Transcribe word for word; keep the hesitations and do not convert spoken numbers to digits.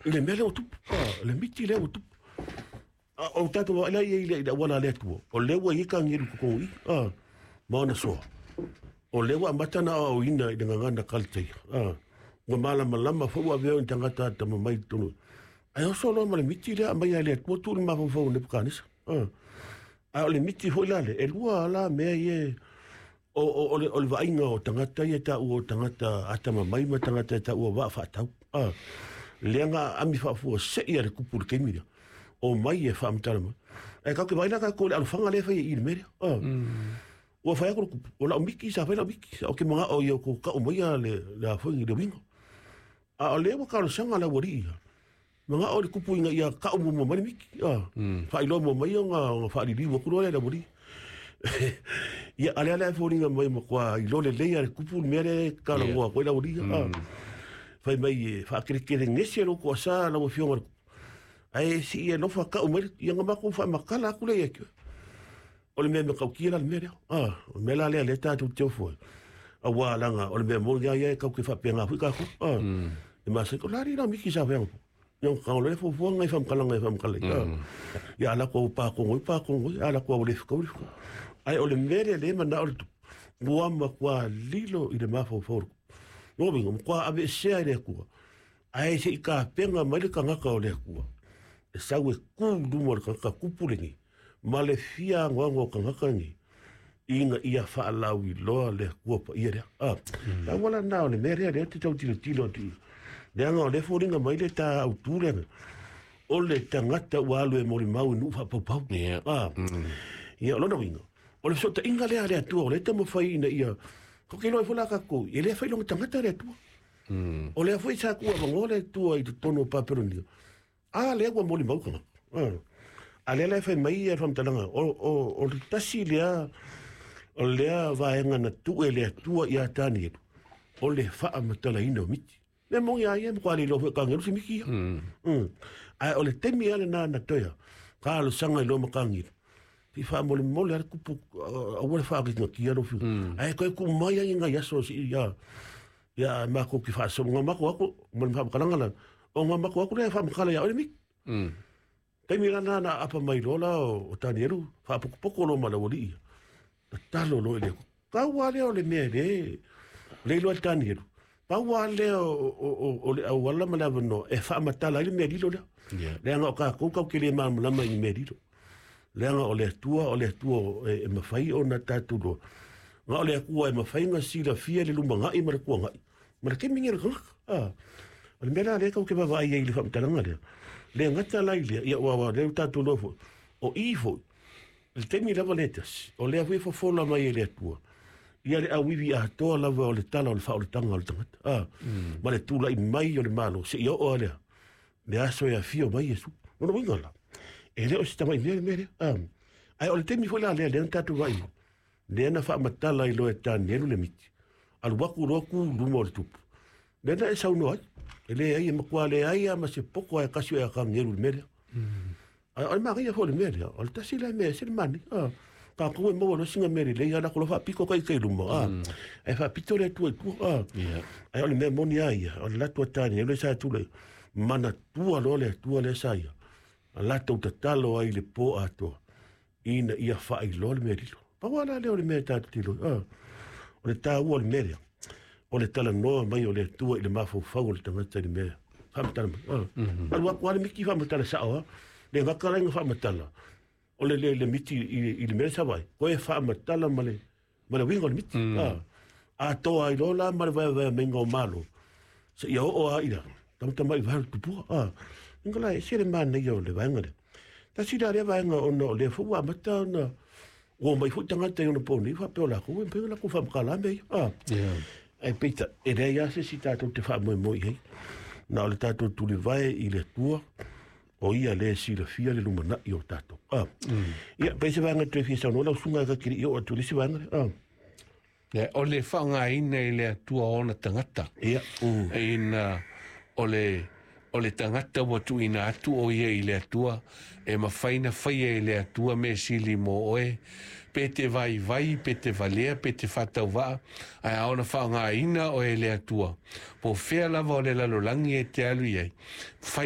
I le mea lea ua tupu, ah, le miti lea ua tupu. Ah, o tatou vaai la i ai i le i le auala a le Atua, o lea ua i ai kagelu i totonu i i, ah, ma ona soa. O lea ua amata ona aoaoina i le gagana Kalataia, ah, ua malamalama foi ua avea o ni tagata atamamai i totonu. Ae oso loa ma le miti lea aumai lava e le Atua tuu i le mafaufau o Nepukanesa. Ah. A o le miti foi la lea, e lua la mea ia o, o, o, le, o le vaaiga o tagata ia e taua o tagata atamamai ma tagata e taua vaa faatau. Ah. Lea na aami faafuasei a le tupu i le taimi lea. O mai e faamatala mai. Ae tatou te vaai la tatou i le alofaga lea e fai e i i le mea lea. Ah. Ua fai atu le tupu, o lau miti sa fai lau miti, ou te manao ia outou tau maia le, le a foi le uiga. A o lea ua talosaga le aualii ia, manao le tupu ina ia tau muamua mai le miti. Ah. Faailoa muamua mai ona, ona faaliliu atu loa lea i le aualii. Ia, a lea la e foliga mai matua iloa lelei lava e le tupu le mea lea e talanoa atu ai le aualii. Ah. Fai mai e faakelegele gese lou toasa lau afioga i le tupu. Ae sii alofa tau mai le, ia ona matou faamatala atu lea ia te oe. O le mea matautia la le mea lea. Ah, o le mea la lea lea tatou te ofo ai. Auā leaga o le mea moni lava ia e tatou te faapena foi tatou. Ah, e masani, o le a alii la miti sa fai anapo? Ia ona tago loa lea fuafuaga i faamatalaga e faamatala ai. Ah, ia a latou pakogo ai, pakogo ai, a latou au le fetau, le fetau. Ae o le mea lea lea e manao le tupu, ua matua lilo i le mafaufau o le tupu. Lona uiga, ua matua aveesea e le Atua, ae se i tapena mai le tagata o le Atua, e sau e tu i luma o le tagata tupu lenei, ma le fia anoano o tagata nei, ina ia faalauiloa le Atua paia lea. Ah, mm. Tau ala lena o le mea lea, lea te tau tilotilo atu i. Leaga o lea foliga mai le ta autu lea, o le tagata ua alu e molimau i nuu faapaupau. Yeah. Ah. Mm. Ia, o lona uiga, o le fesootaiga lea a le Atua, o lea e taumafai ina ia, ko ke iloa ai foi la tatou, e le fai lona tagata le Atua. Mm. O lea foi sa tuuavanoa le Atua i totonu o Papelonia. A lea ua molimau tagata. Ah. A lea la e fai mai ia le faamatalaga, o, o, o le tasi lea, o lea vaega na tuu e le Atua ia Tanielu, o le faamatalaina o miti. Mea moni a ia, matua le iloa foi e Tanielu se miti ia. Mm. Mm. Ae o le taimi lava lena na toe talosaga ai loa ma Tanielu, se i faamolemole lava le tupu, aua le faagatinatia lou fiu. Ae toe tuu mai ai nai aso se i ia, ia matou te faasolo. Na matou atu, ma le faamatalaga la, o na matou atu lea e faamatala ia oe le miti. Mm. Taimi la lena na aapa mai loa la o Tanielu, faapokopoko loa ma le aualii ia. Tatalo loa i le Atua. Pau lava lea o le mea le, le iloa e Tanielu, pau lava lea o, o, o, o le auala ma le avanoa e faamatala ai le mea lilo lea. Yeah. Leaga o tatou tatou te le malamalama i ni mea lilo. Leaga o le Atua, o le Atua e, e mafai ona tatou iloa. Na o le Atua e mafai ona silafia le lumanai ma le tuanai ma le taimi nei o le tagata. Ah. O le mea la lea tatou te vaavaai ai i le faamatalaga lea, le gata la i lea, ia ua ua lea ua tatou iloa foi, o i foi, i le taimi lava lea e tasi, o lea foi e fofola mai e le Atua, ia le auivi atoa lava o le tala o le faaolataga o le tagata, ah, ma le tulai mai o le Malo, seia oo lava lea, le aso e afio mai Iesu. Lona uiga la, e le o se tamai mea le mea lea. Ah. Ae o le taimi foi la lea, lea na tatou vaai ai, lea na faamatala ai loa e Tanielu le miti, alu atu loa tu i luma o le tupu. Lea na e saunoa ai, e leai, e matua leai lava ma se poto ae tasi o e Akanielu i le mea lea. Ae o le manaia foi o le mea lea, o le tasi lea mea e ese le manaia. Ah, tatou e maua loa sina mea lelei, a latou loa faapito ta ita i luma, ah, ae faapito le Atua i tua. Ah. Yeah. Ae o le mea moni lava ia, o le latou a Tanielu lea sa tulai, manatua loa le Atua lea sa ia, a latou tatalo ai i le po atoa, ina ia faailoa le mea lilo. Pau lava la lea o le mea e tatou te iloa ai. Ah, o le taua o le mea lea, o le talanoa mai o le Atua i le mafaufau o le tagata i le mea faamatala mai. Ah. Alu atu lava le miti faamatala sao lava, le gata la ina faamatala, o le, le, le miti i, i le mea sa vaai, koe faamatala ma le, ma le uiga o le miti. Mm. Ah. Atoa ai loa la ma le vaevaeamaiga o Malo, seia oo lava i la tamatamai vae o le tupua. Ah. Inga la, e ese le manaia o le vaega lea. Tasi la lea vaega ona o lea foi ua amata ona ua omai foi tagata i ona po nei, faapea o latou, e mafai ona latou faamatala mea ia. Ah. Yeah. Ae peitai, e leai lava se isi tatou te faamoemoe i ai. Na o le tatou tulivae i le Atua, o ia lea e silafia le lumanai o tatou. Ah. Mm. Ia, pe se vaega toe fia saunoa lau susuga e ka kili i oo atu i le isi vaega lea. Ah. Yeah, o le faaaogaina i le Atua o ona tagata. Ia. Mm. Ina o le, o le tagata ua tuuina atu o ia i le Atua, e mafai na faia e le Atua mea sili mo oe, pe te vaivai, pe te valea, pe te faatauvaa, ae a ona faaaogaina oe e le Atua, po o fea lava o le lalolagi e te alu i ai, fai